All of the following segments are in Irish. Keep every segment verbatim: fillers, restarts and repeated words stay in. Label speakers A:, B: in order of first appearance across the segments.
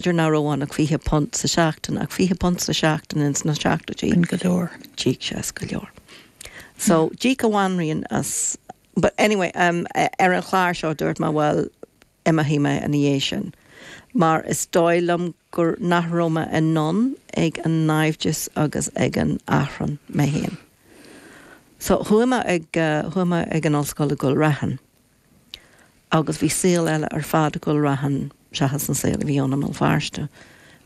A: B'fhéidir nach raibh ann ach fiche punt sa seachtain ach fiche punt sa seachtain ins na seachtóidí.
B: B'in go leor.
A: D'íoc sé as go leor. So d'íoc an bhanríon as but anyway um, ar an chlár seo dúirt mé well imeoidh mé ina dhiaidh sin. Mar is dóigh liom gur nach raibh mé in ann ag an naimhdeas agus ag an achrann mé féin. So chuaigh mé ag uh, chuaigh mé ag an ollscoil i gCúil Raithin. Agus bhí saol eile ar fad i gCúil Raithin seachas an saol a bhí ann i mBéal Feirste.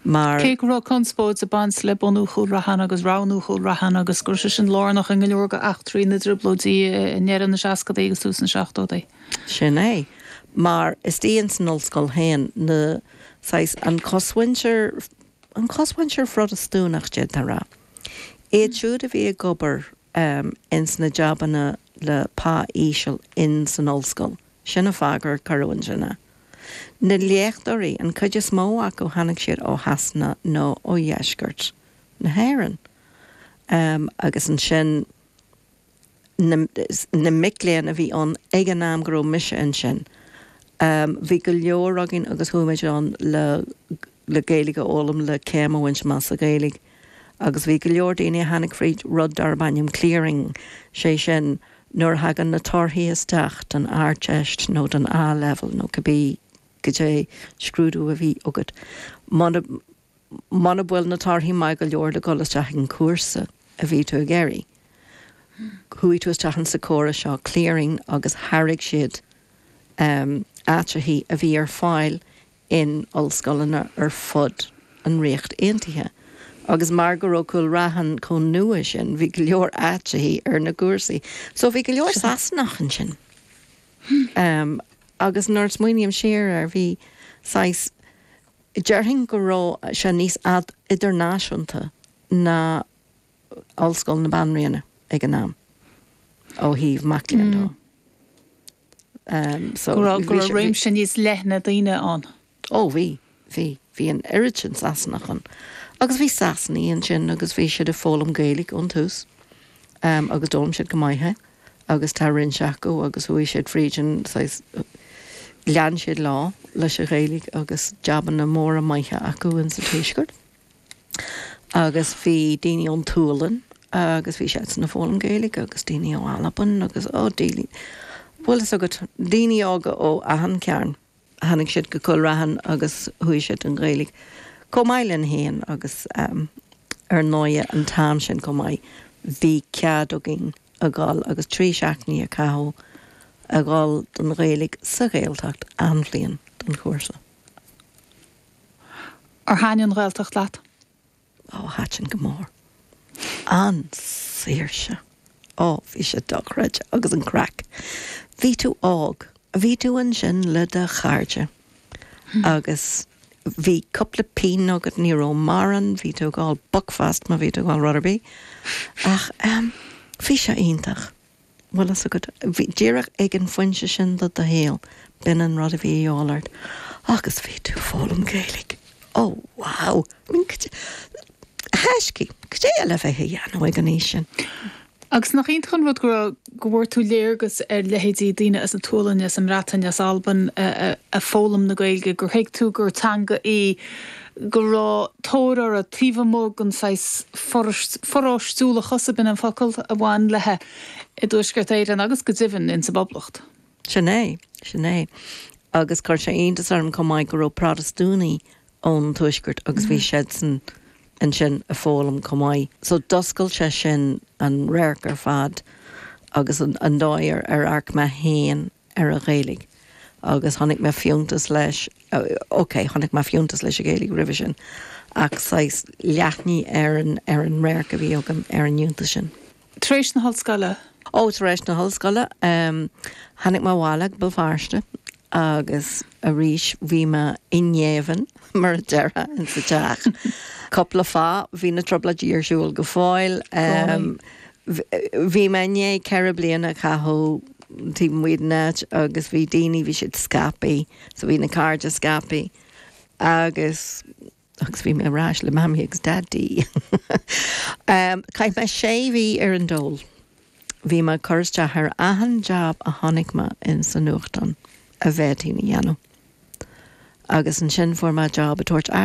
A: Mar
B: Cé go raibh conspóid ag baint le bunú Chúil Raithin agus roghnú Chúil Raithin agus gur sé sin lárnach i go leor d'eachtraí na dtrioblóidí i ndeireadh na seascadaí agus tús na seachtóidí.
A: Sin é. Mar istigh san ollscoil féin na saghas an cosmhuintir an cosmhuintir Phrotastúnach d'fhéadfá rá. Iad siúd a bhí ag obair um, ins na jabanna le pá íseal in san ollscoil. Sin an fáth gur cuireadh ansin é. Na léachtóirí an chuid is mó acu tháinig siad ó Shasana nó ó dheisceart na hÉireann. Um, agus ansin na, na mic léinn a bhí ann ag an am go raibh mise ansin. Um, bhí go leor againn agus chuaigh muid ann le le Gaeilge a fhoghlaim le céim a bhaint amach sa Ghaeilge. Agus bhí go leor daoine a tháinig fríd rud darb ainm clearing sé sin nuair thagann na torthaí isteach don Ardteist nó don A-level nó cibé goidé scrúdú a bhí agat. Muna bhfuil na torthaí maith go leor le dul isteach an cúrsa a bhí tú ag iarraidh. Chuaigh tú isteach sa chóras seo clearing agus thairg siad um, áiteacha a bhí ar fáil in ollscoileanna ar fud an Ríocht Aontaithe. Agus mar go raibh Cúil Raithin chomh nua sin, bhí go leor áiteacha ar na cúrsaí. So bhí go leor Sasanach ansin. Um, agus nuair smaoiním siar ar bhí saghas déarfainn go raibh sé níos ad idirnáisiúnta ná Ollscoil na Banríona ag an am ó thaobh mac léinn de. Um, so
B: Go raibh go raibh réimse níos leithne daoine ann.
A: Ó bhí bhí bhí an oiread sin Sasanach ann. Agus bhí Sasanaigh ansin agus bhí siad ag foghlaim Gaeilge ón tús um, agus d'fhoghlaim siad go maith agus tá roinnt acu agus chuaigh siad fríd an lean siad lá leis an Ghaeilge agus jabanna móra maithe acu in sa tuaisceart. Agus bhí daoine ón tSualainn agus bhí siad ag foghlaim Gaeilge agus daoine ó Albain agus ó daoine. Bhfuil fhios agat daoine óga ó achan chearn tháinig siad go Cúil Raithin agus chuaigh siad an Ghaeilge. Chomh maith linn féin agus um, ar ndóigh an t-am sin chomh maith bhí cead againn a dhul agus trí seachtainí a chaitheamh a dhul don Ghaeilge sa Ghaeltacht an bhliain don chúrsa.
B: Ar thaitin an Ghaeltacht leat?
A: Ó thaitin go mór. An saoirse. Ó bhí sé dochreidte agus an craic. Bhí tú óg, bhí tú ansin le do chairde agus bhí cúpla pingin agat ní raibh mórán, bhí tú ag ól Buckfast má bhí tú ag ól rud ar bith. Ach um, bhí sé iontach. Bhfuil fhios agat bhí díreach ag an phointe sin de do shaol, b'in an rud a bhí ort agus bhí tú ag foghlaim Gaeilge. Ó wow! I mean, heiscí, goidé le bheith a dhéanamh ag an aois sin.
B: Agus nach iontach an rud go go bhfuair tú léargas ar leithéidí daoine as an tSualainn as an mBreatain as Albain ag foghlaim na Gaeilge gur thuig tú gur teanga í go raibh tóir uirthi taobh amuigh den saghas pharóistiúlachas a b'in an focal a bhain léi i dTuaisceart Éireann agus go deimhin in sa bPoblacht.
A: Sin é, sin é. Agus chuir sé iontas orm chomh maith go raibh Protastúnaigh ón tuaisceart agus bhí siadsan ansin ag foghlaim chomh maith. So d'oscail sé sin an radharc ar fad agus an, an dóigh ar ar amharc mé féin ar an Ghaeilge. Agus tháinig mé fiúntas leis Ok, tháinig mé fiúntas leis an Ghaeilge roimhe sin ach saghas leathnaigh ar an ar an radharc a bhí agam ar an fhiúntas sin.
B: Tar éis na hollscoile?
A: Ó tar éis na hollscoile um, tháinig mé abhaile go Béal Feirste agus arís bhí mé i ngéibheann mar a déarfá in sa teach. Cúpla fáth bhí na trioblóidí ar siúl go fóill. Um, bhí mé i ndiaidh ceithre bliana a chaitheamh taobh amuigh den áit agus bhí daoine bhí siad scaipthe, so bhí na cairde scaipthe agus agus bhí mé ar ais le mamaí agus daidí. um, Chaith mé sé mhí ar an dól. Bhí mé ag cur isteach ar achan job a chonaic mé in sa nuachtán a bhféadfainn a dhéanamh. Agus ansin fuair mé job ag tabhairt aire